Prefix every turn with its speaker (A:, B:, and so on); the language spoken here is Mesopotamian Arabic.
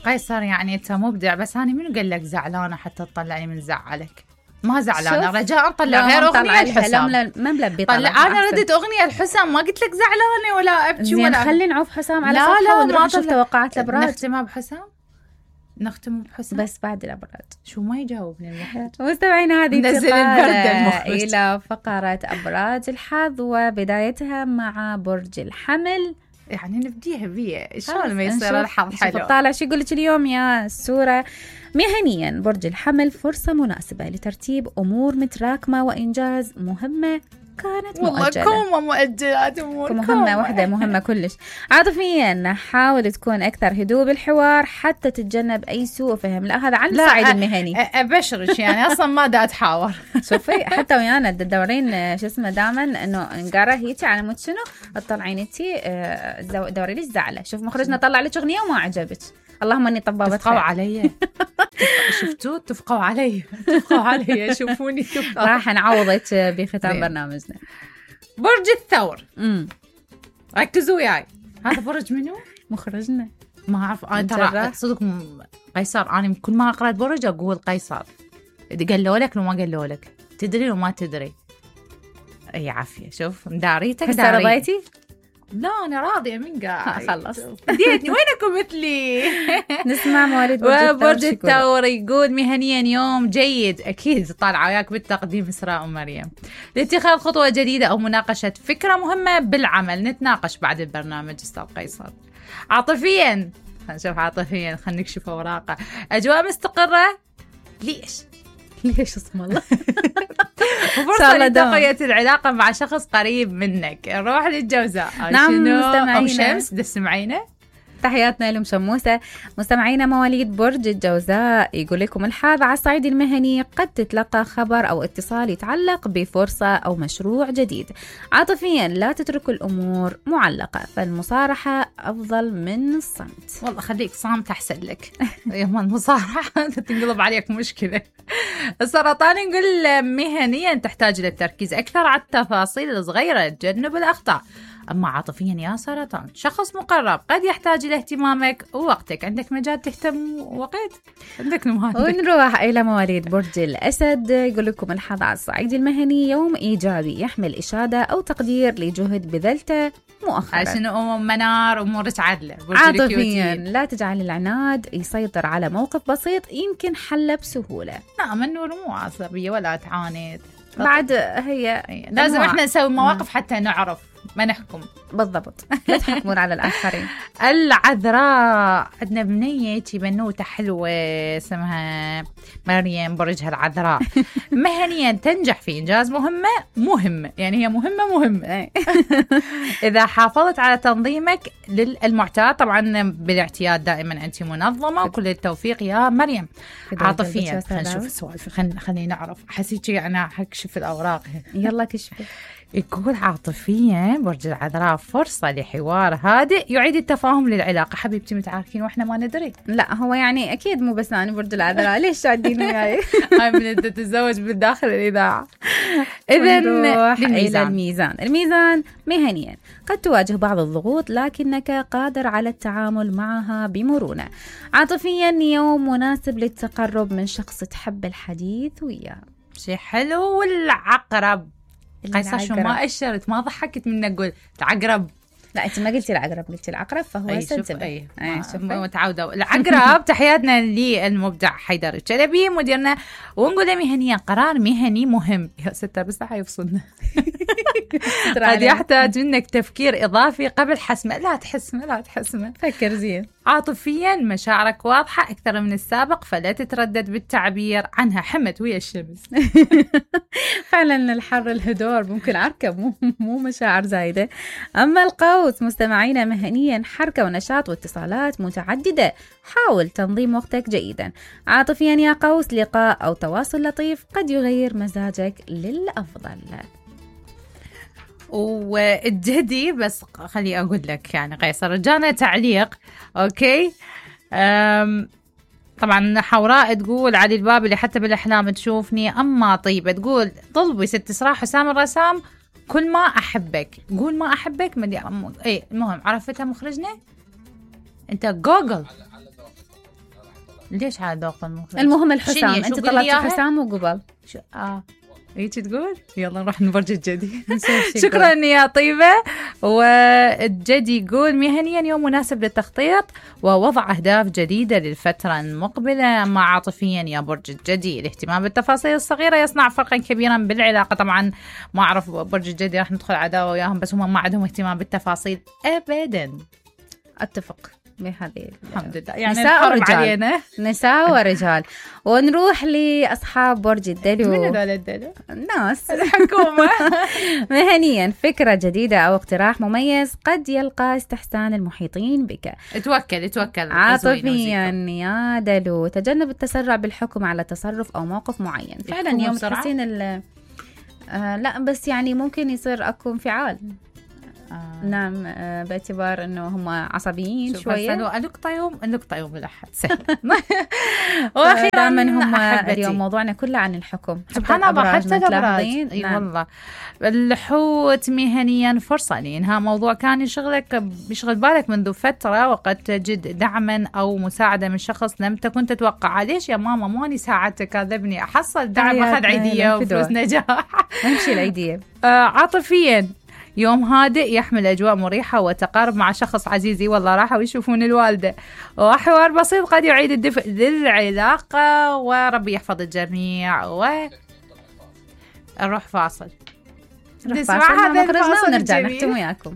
A: قيصر يعني انت مبدع، بس انا منو قال لك زعلانه حتى تطلعني من زعلك؟ ما زعلانه رجاء طلع غير اغنيه الحسام.
B: ما ملبي
A: طلع. انا ردت اغنيه الحسام، ما قلت لك زعلانه ولا ابكي ولا.
B: خلي نعوف حسام على صفحه ونروح نشوف توقعات الابراج.
A: نختمها بحسام، نختم بحسام
B: بس بعد الابراج.
A: شو ما يجاوبني المخرج؟
B: مستمعينا هذه
A: نزل البرد
B: الى فقره ابراج الحظ، وبدايتها مع برج الحمل.
A: يعني نبديها بيه شلون ما يصير الحظ حلو.
B: طالع شو يقول لك اليوم يا سورة؟ مهنيا برج الحمل فرصة مناسبة لترتيب أمور متراكمة وإنجاز مهمة كانت مؤجلة.
A: والله مؤجلات أمور
B: مهمة واحدة مهمة كلش. عاطفيا حاول تكون أكثر هدوء بالحوار حتى تتجنب أي سوء فهم. لا هذا عن الصعيد المهني.
A: أبشرش يعني أصلا ما دا أتحاور.
B: شوفي حتى ويانا تدورين شو اسمه دائما إنه نقرأ هيتي على مود شنو تطلعين انتي دوري ليش زعلة. شوف مخرجنا طلع لك أغنية وما عجبك. اللهم اني طبابة
A: تفقوا علي. شفتوا تفقوا علي، تفقوا علي، شوفوني تفقوا.
B: راح نعوضك بختام برنامجنا.
A: برج الثور. ركزوا وياي. هذا برج منو؟
B: مخرجنا.
A: ما اعرف انا ترى صدق قيصر. انا كل ما قرأت برج اقول قيصر. قالوا لك لو ما قالوا لك تدري وما تدري. اي عافيه. شوف مداريتك
B: داري. رضيتي؟
A: لا أنا راضية من قاعد.
B: خلص
A: ديتني وينكم مثلي.
B: نسمع مواليد
A: برج الثور. يقول مهنيا يوم جيد، أكيد طالعة وياك بالتقديم إسراء ومريم، لاتخاذ خطوة جديدة أو مناقشة فكرة مهمة بالعمل. نتناقش بعد البرنامج أستاذ قيصر. عاطفيا نشوف عاطفيا، خلينا نكشف أوراقه. أجواء مستقرة. ليش اسم الله. وفرصة لتقوية العلاقة مع شخص قريب منك. نروح للجوزاء.
B: نعم مستمعينا
A: أو شمس تسمعينا.
B: تحياتنا لهم شموسة. مستمعينا مواليد برج الجوزاء يقول لكم الحظ على الصعيد المهني قد تتلقى خبر أو اتصال يتعلق بفرصة أو مشروع جديد. عاطفيا لا تتركوا الأمور معلقة، فالمصارحة أفضل من الصمت.
A: والله خليك صامت أحسن لك. يوم المصارحة تنقلب عليك مشكلة. السرطان يقول مهنيا تحتاج للتركيز أكثر على التفاصيل الصغيرة، تجنب الأخطاء. أما عاطفيا يا سرطان شخص مقرب قد يحتاج إلى اهتمامك ووقتك. عندك مجال تهتم وقت عندك نماذج.
B: ونروح إلى مواليد برج الأسد. يقول لكم الحظ على الصعيد المهني يوم إيجابي يحمل إشادة أو تقدير لجهد بذلته مؤخرا.
A: عشان منار أمورك عدلة.
B: عاطفيا لا تجعل العناد يسيطر على موقف بسيط يمكن حله بسهولة.
A: لا منور مو عصبية ولا تعاند.
B: بعد هي
A: لازم احنا نسوي مواقف حتى نعرف ما نحكم.
B: بالضبط. لا تحكمون على الآخرين.
A: العذراء عندنا بنية بنوتة حلوة اسمها مريم، برجها العذراء. مهنيا تنجح في إنجاز مهمة يعني هي مهمة. إذا حافظت على تنظيمك للمعتاد، طبعا بالاعتياد دائما أنت منظمة، وكل التوفيق يا مريم. عاطفيا خلينا نشوف السوالف، خلينا نعرف. حسيتي أنا هكشف الأوراق.
B: يلا كشفي.
A: يقول عاطفيا برج العذراء فرصة لحوار هادئ يعيد التفاهم للعلاقة. حبيبتي متعاركين واحنا ما ندري.
B: لا هو يعني أكيد مو بس أنا برج العذراء. ليش شادين وياي؟
A: هاي من أنت تتزوج بالداخل الإذاعة.
B: إذن إلى الميزان مهنيا قد تواجه بعض الضغوط لكنك قادر على التعامل معها بمرونة. عاطفيا يوم مناسب للتقرب من شخص تحب الحديث وياه.
A: شيء حلو. والعقرب قيصر شو ما أشرت ما ضحكت من أقول العقرب.
B: لا أنت ما قلتي العقرب، قلتي العقرب، فهو سنتبه.
A: متعودة. العقرب تحياتنا للمبدع حيدر الشلبي مديرنا، ونقول مهنيا قرار مهني مهم. يا ستة بس حيفصلنا. قد يحتاج منك تفكير إضافي قبل حسمه. لا تحسمه.
B: فكر زين.
A: عاطفيا مشاعرك واضحة أكثر من السابق، فلا تتردد بالتعبير عنها. حمت ويا الشمس.
B: فعلا الحر الهدور ممكن عركة مو مشاعر زايدة. أما القوس مستمعينا مهنيا حركة ونشاط واتصالات متعددة، حاول تنظيم وقتك جيدا. عاطفيا يا قوس لقاء أو تواصل لطيف قد يغير مزاجك للأفضل.
A: والجدي بس خلي أقول لك يعني قيصر جانا تعليق. أوكي طبعا حوراء تقول علي الباب اللي حتى بالأحلام تشوفني. أما طيبة تقول طلبي ست إسراء حسام الرسام كل ما أحبك. قول ما أحبك ايه المهم عرفتها مخرجنا. انت جوجل ليش على ذوق المخرج؟
B: المهم الحسام،
A: شنو؟
B: انت
A: شو
B: طلبتي
A: بالياها؟
B: حسام وقبل.
A: هيك تقول؟ يلا نروح نبرج الجدي.
B: نشوف
A: شكرا يا طيبة. والجدي يقول مهنيا يوم مناسب للتخطيط ووضع أهداف جديدة للفترة المقبلة. مع عاطفيا يا برج الجدي، الاهتمام بالتفاصيل الصغيرة يصنع فرقا كبيرا بالعلاقة. طبعا ما أعرف برج الجدي راح ندخل عداوة وياهم، بس هم ما عندهم اهتمام بالتفاصيل أبدا.
B: أتفق بهذه.
A: الحمد لله، يعني
B: نساء
A: الحرب
B: ورجال.
A: علينا.
B: نساء ورجال. ونروح لأصحاب برج الدلو.
A: من هذول الدلو؟
B: الناس
A: الحكومة.
B: مهنيا فكرة جديدة أو اقتراح مميز قد يلقى استحسان المحيطين بك.
A: توكل.
B: عاطفيا يا دلو، تجنب التسرع بالحكم على تصرف أو موقف معين. فعلا يوم تحسين لا بس يعني ممكن يصير أكو انفعال. نعم، باعتبار انه هم عصبيين شويه.
A: النقطة يوم الأحد سهل. واخيرا
B: دائما هم
A: أحبتي.
B: اليوم موضوعنا كله عن الحكم.
A: سبحان الله، حتى الأبراج.
B: اي
A: نعم. والله الحوت مهنيا فرصة لإنهاء موضوع كان يشغل بالك منذ فترة، وقد تجد دعما أو مساعدة من شخص لم تكن تتوقع. ليش يا ماما ماني ساعدتك؟ كذبني، أحصل دعم، أخذ عيدية وفلوس نجاح.
B: أمشي العيدية.
A: عاطفيا يوم هادئ يحمل أجواء مريحة وتقارب مع شخص عزيزي. والله راحوا يشوفون الوالدة، وحوار بسيط قد يعيد الدفء للعلاقة. وربي يحفظ الجميع. نروح فاصل.
B: نسمع هذا الفاصل ونرجع نختم وياكم.